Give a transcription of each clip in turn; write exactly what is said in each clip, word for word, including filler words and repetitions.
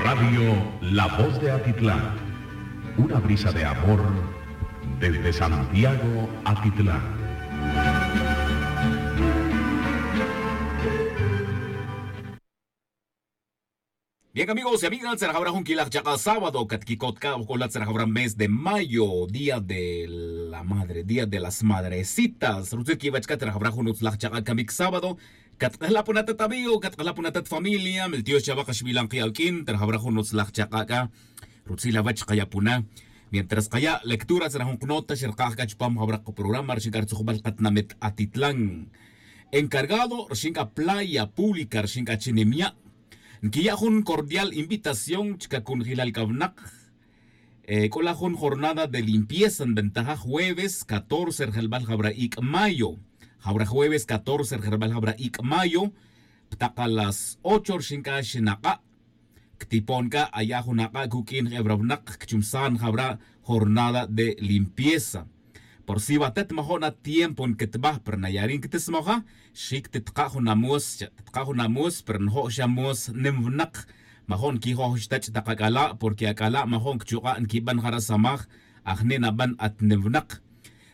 Radio La Voz de Atitlán, una brisa de amor desde Santiago, Atitlán. Bien, amigos y amigas, tzerajawra jun quilaj chaka' sábado catquicot c'a ojc'ola tzerajawra mes de mayo, día de la madre, día de las madrecitas. Rutzil quiwach c'a tzerajawra jun utzlaj chaka' camic sábado. Catk'ajla' puna tat amigo, catk'ajla' puna tat familia miltiox chawa kaxbilan ki' awq'uin tzerajawra jun utzlaj chaka' c'a. Rutzil awach kaya' puna. Mientras kaya' lectura tzeraj jun knota xerkaj c'a chupam jawra kaprograma rixin c'a rutzujbal katnamit atitlan. Encargado rixin c'a playa pública rixin c'a chi nimya', nquiya' jun cordial invitación chica cunjilal c'a winak. C'o la jun jornada de limpieza nbentaja jueves catorce rjelbal jawra ic' mayo. Jawra jueves catorce rjelbal jawra ic' mayo, ptak a las ocho rixin c'a xinak'a'. Ctipon c'a aya' jun ak'a' cuq'uin je'e wra winak cchumsan jawra jornada de limpieza. Por si watet majo'n atiempo nquitbaj pero naya' ri' nquitesmoja, xi' ctitka' jun amues cha' ctitka' jun amues pero njo' xa mues nim winak. Majo'n nquijoj xa tach' tak ac'ala' porque ac'ala' majo'n cchuk'a' nquiban jara' samaj. Ajni' naban at nim winak.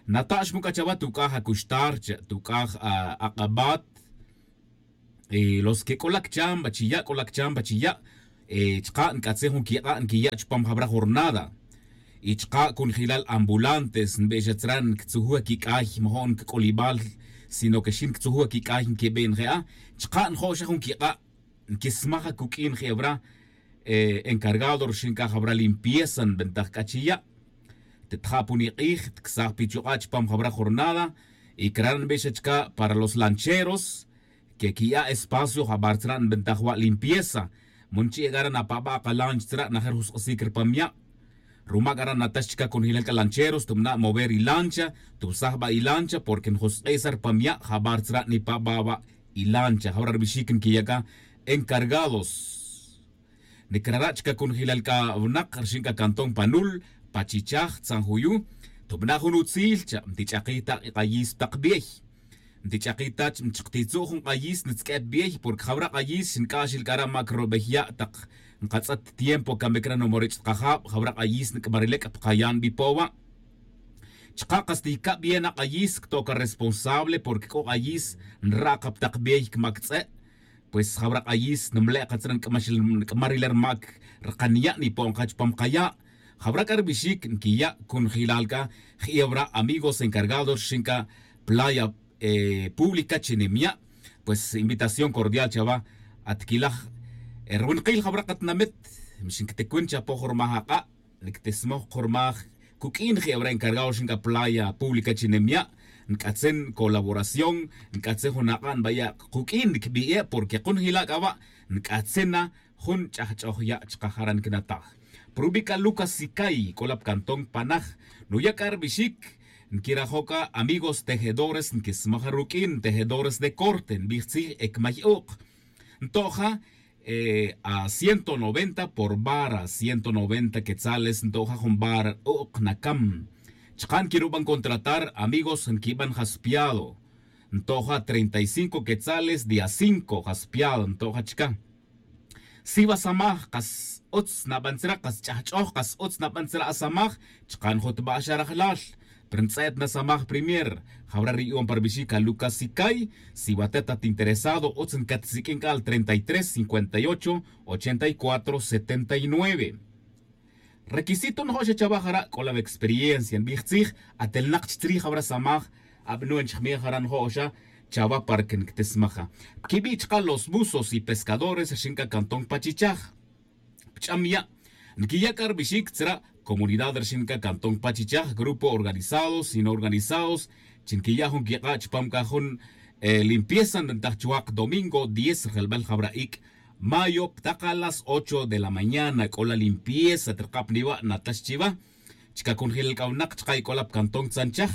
Nata' xmu c'a chawa tuc'aj acuxtar cha' tuc'aj ak'abat. Los que c'o la cchamba chiya' c'o la cchamba chiya'. Chka' nc'atzin jun quik'a' nquiya' chupam jawra jornada. Y chka' cunjelal ambulantes nbix atzra' nctzujuj aquic'ay majo'n ncac'olibal, sino que xin nctzujuj aquic'ay nquibin je'a. Chka' njo' xa jun quik'a' nquismaj acuq'uin je'ewra. Encargado rixin c'a jawra limpieza nbentaj c'a chiya'. Tetja' puni k'ij tcsaj pichuk'a' chupam jawra jornada. Y cra' nbix achca' para los lancheros que quiya' espacio jabar tzra' nbentaj wa' limpieza. Mun chi' c'a ra' napaba' ka lancha tzra' najer jusk'isic rpam ya'. Ruma c'a ra' natax chica cunjelal c'a lancheros tubna' mover ilancha, tubsaj ba ilancha porque njusk'isa rpam ya' jabar tzra' nipaba' wa' ilancha jawra rbixic nquiya' c'a. Encargados. Nicrara' chica cunjelal c'a winak rixin c'a cantón panul, pachichaj tzanjuyu. Tubna' jun utzil cha' ntich'akij ta k'ayis tak biey. Ntich'akij ta chak ntitzu' jun k'ayis ntzq'uep biey porque jawra k'ayis xinc'axil c'a ra' mac robey ya' tak nkatz'et tiempo camic ra' numorich' tkajab jawra k'ayis nc'marilec' pkayan bipo wa'. Chka' kas ticabi ye na k'ayis cto' ca responsable porque c'o k'ayis nra' ka ptak biey cmac tz'e'. Pues jawra k'ayis nmle' katzra' nc'maxil nc'marilel rmac rkanya' nipo'n ka chupam kaya'. Jawra c'a rbixic nquiya' cunjelal c'a je'ewra amigos encargados rixin c'a playa pública chi nimya'. Pues invitación cordial chawa. Atquilaj rwinakil jawra katinamit. Mix ncticwin chapo jurmaj ak'a' nctismoj kurmaj cuq'uin je'ewra encargado rixin c'a playa pública chi nimya'. Nc'atzin colaboración nc'atzin jun ak'a' nbaya' kuq'uin ncbi'e' porque kunjila' c'a wa' nc'atzin na jun ch'ajch'oj ya' chka jara' ncnataj. Prubi' c'a lucas sicay c'o la pcantón panaj. Nuya' c'a rbixic nquirajo' c'a amigos tejedores nquismaj ruq'uin tejedores de corte nbij tzij ecmay uk'. Nto'ja a ciento noventa por vara ciento noventa quetzales nto'ja jun vara uk' nacam. Chka' nquiruban contratar amigos nquiban jaspiado. Nto'ja treinta y cinco quetzales día cinco jaspiado nto'ja chka. Siwa samaj kas utz naban tzra' kas ch'ajch'oj kas utz naban tzra' asamaj. Chka' njutba' xa rajlal pero ntz'et na samaj primer. Jawra ri yu'un pa rbixic a lucas sicay. Siwa tet at interesado utz ncatsik'in c'a al treinta y tres cincuenta y ocho ochenta y cuatro setenta y nueve. Requisito njo' xa chawa jara' c'o la wexperiencia nbij tzij. Atel nak chi tzrij jawra samaj. Abnuen chijmij jara' njo' xa chawa para que nctismaja. Quibi' chka los buzos y pescadores rixin c'a cantón pachichaj. Pch'am ya' nquiya' c'a rbixic tzra' comunidad rixin c'a cantón pachichaj grupo organizados y no organizados chi nquiya' jun quik'a' chupam c'a jun limpieza nbentaj chuwak domingo diez rjelbal jawra ic' mayo ptak a las ocho de la mañana c'o la limpieza trkap niwa' natax chiwa. Chka cunjelal c'a winak chka ic'ola pcantón tzanchaj.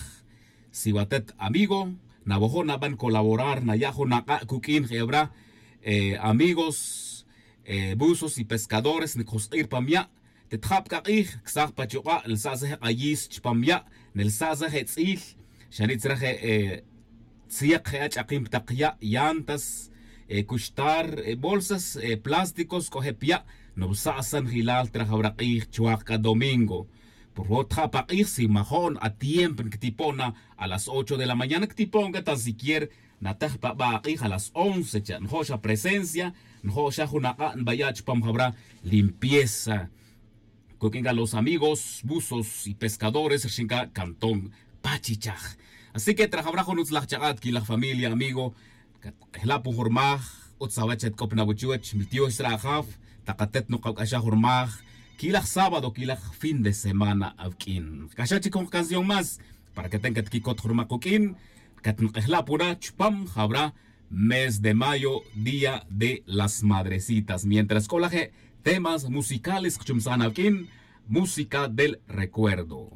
Siwa tet amigo nawojo' naban colaborar naya' jun ak'a' cuq'uin je'ewra amigos buzos y pescadores ncjusk'i' rpam ya'. Tetja' pc'a k'ij ksaj pa chuk'a' nelsa'sej k'ayis chupam ya'. Nelsa'sej etz'il xani' tzra' je' tziyek je' ach'akin ptak ya' llantas. cuxtar bolsas plásticos c'o je' pya'. Nubsa' sanjilal trajawra k'ij chuwak c'a domingo. Por favor tja' pa k'ij si majo'n atiempo nctipo'n na a las ocho de la mañana ctipo'n c'a tan siquier natej pa ba' ak'ij a las once cha' njo' xa presencia. Njo' xa jun ak'a' nbaya' chupam jawra limpieza. Cuq'uin c'a los amigos buzos y pescadores rxin c'a cantón pachichaj. Así que trajawra jun utzlaj chak'a' tquilaj familia amigo. Catk'ejla' pun jun rmaj utz awech chetc'op na wuchuwech mi tiox sra' ajaf. Tak atet nukac'axaj jun rmaj quilaj sábado quilaj fin de semana awq'uin kac'axaj chic jun canción más para que ten catquicot jun rmaj kuq'uin. Catnk'ejla' pun ra chupam jawra mes de mayo día de las madrecitas mientras c'o laje' temas musicales kchumsan awq'uin. Música del recuerdo.